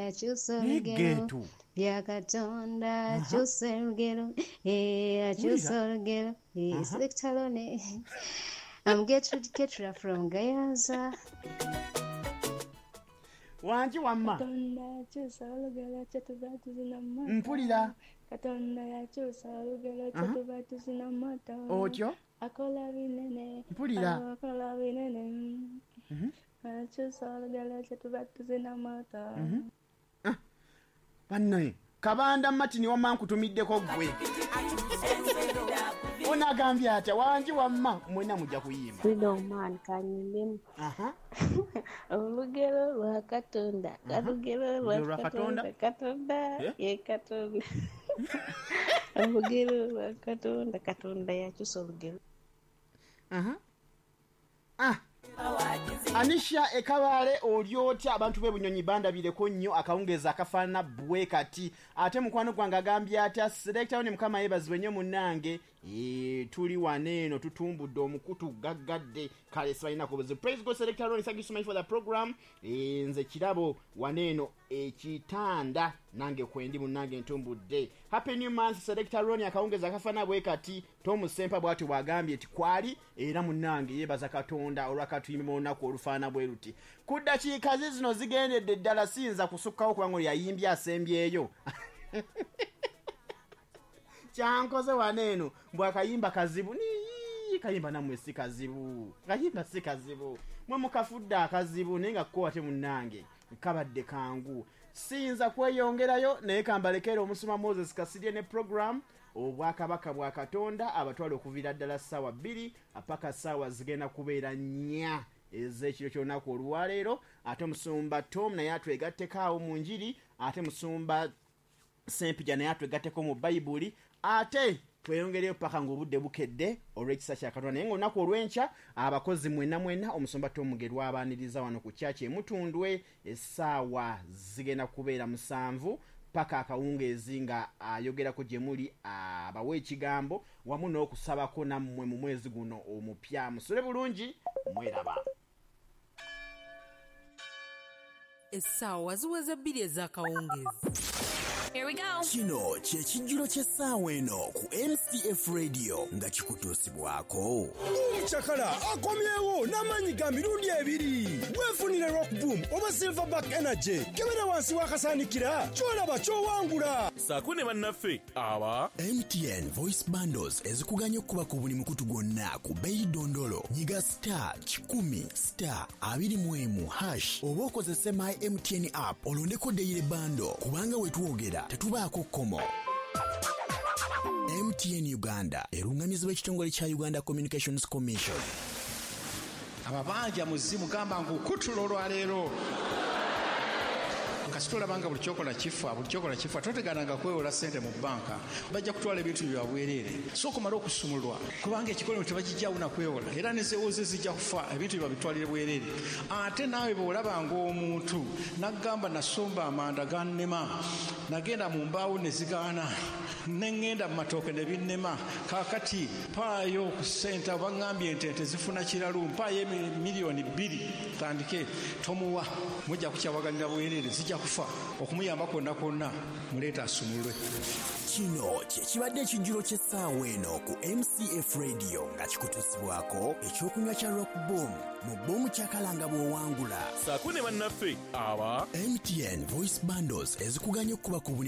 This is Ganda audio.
akyusa Naye olugero. Geetu. Bya Katonda akyusa olugero. Eh, akyusa olugero. Eh, Selector Ronnie. I'm Gertrude Ketra from Gayaza. Wangi wamma. Katonda yakyusa olugero kyetuva tuzina moto. Mpulira. Katonda yakyusa olugero kyetuva tuzina moto. Otyo? Akola binene. Mpulira. Akola binene. Akyusa olugero kyetuva tuzina moto. Bannaye, Kabanda Martin wamma nkutumiddeko ggwe. Ono agambye atya? Wangi wamma, mwenna mujja kuyimba. Freedom man kanyimbemu. Aha. Olugero lwa Katonda, olugero Olugero lwa lwa Katonda. Katonda, Katonda Eh? ye Katonda. Olugero lwa Katonda, Katonda yakyusa olugero. Aha. Ah. Anisha Ekabaale, oli otya? Abantu b'e Bunyonyi bandabireko nnyo akawungeezi akafaanana bwe kati. Ate mukwano gwange agambye atya? Selector ne Mukama yeebazibwe nnyo munnange. Tuli wano eno tutumbudde omukutu gaggadde, kale sibalinako buzibu. Praise God, Selector Ronnie, thank you so much for the program. Nze Kirabo wano eno ekitanda nange kwendi munnange ntumbudde. Happy new month, Selector Ronnie, akawungeezi akafaanana bwe kati. Tom Sempa bw'atyo bw'agambye nti kwali era munnange yeebaza Katonda olwakatuyimba olunaku olufaanana bwe luti. Ku ddakiika zi zino zigendedde ddala, siyinza kusukkawo kubanga oyo yayimbye asembyeyo. Kyankoze wano eno mbw akayimba kazibu. Nii, kayimba nammwe si kazibu, kayimba si kazibu, mwe mukafudde akazibu, naye nga ko ate munnange kabadde kangu. Siyinza kweyongerayo, naye kambalekere omusuma Moses Kasirye ne program Obwakabaka bwa Katonda abatwala okuviira ddala ssaawa 2 paka ssaawa zigenda kubeera 4 ez'ekiro ky'olunaku olwaleero. Ate omusumba Tom naye atwegatteko awo mu njiri, ate musumba Sempija naye atwegatteko mu Bayibuli, ate tweyongereyo paka ng'obudde bukedde olw'ekisa kya Katonda. Naye ng'olunaku olw'enkya abakozi mwenna mwenna, omusumba Tom Mugerwa abaaniriza wano ku kyaki Emutundwe, essaawa zigenda kubeera 7 paka akawungeezi, nga ayogerako gye muli, abawa ekigambo wamu n'okusabako nammwe mu mwezi guno omupya. Musule bulungi, mweraba. Essaawa ziweze 2 ez'akawungeezi. Here we go. Kino kye kijjulo ky'essaawa eno ku MCF Radio nga kikutuusibwako Cakala akomyewo n'amaanyi ga mirundi ebiri. Weefunire Rock Boom oba Silverback Energy. Kebera wansi w'akasaanikira ky'olaba ky'owangula. Saako ne bannaffe aba MTN Voice Bundles ezikuganya okukuba ku buli mukutu gwonna ku bbeeyi ddondolo. Nyiga *100*21# oba okozese My MTN app olondeko Daily Bundle, kubanga we twogera tetubaako kkomo. MTN Uganda erungamizibwa ekitongole kya Uganda Communications Commission. Ababanja muzimu gamba nkukutula olwaleero. Kasita olaba nga buli kyokola kifa, buli kyokola kifa, totegananga kwewola ssente mu banka, bajja kutwala ebintu byabwereere. Sooka omale okusumulwa, kubanga ekikolimo tebakijjawo na kwewola, era nezewoze zijja kufa, ebintu byebabitwalire bwereere. Ate naawe bw'olabanga omuntu naggamba nasomba amanda gannema, nagenda mu mbaawo ne zigaana, neŋŋenda mu matooke ne binnema, kaakati mpaayo ku ssente, baŋŋambye nti ente zifuna kiralu, mpaayo 2 miliyoni tandike, tomuwa, mujja kukyawaganira bwereere, zijja kufa. Okumuyamba kwonna kwonna muleeta asumulwe. Kino kye kibadde ekijjulo ky'essaawa eno ku MCF Radio nga kikutuusibwako ekyokunywa kya Rock Boom mu Boom Cakala nga bw'owangula. Saako ne bannaffe aba MTN Voice Bundles ezikuganya okukuba ku buli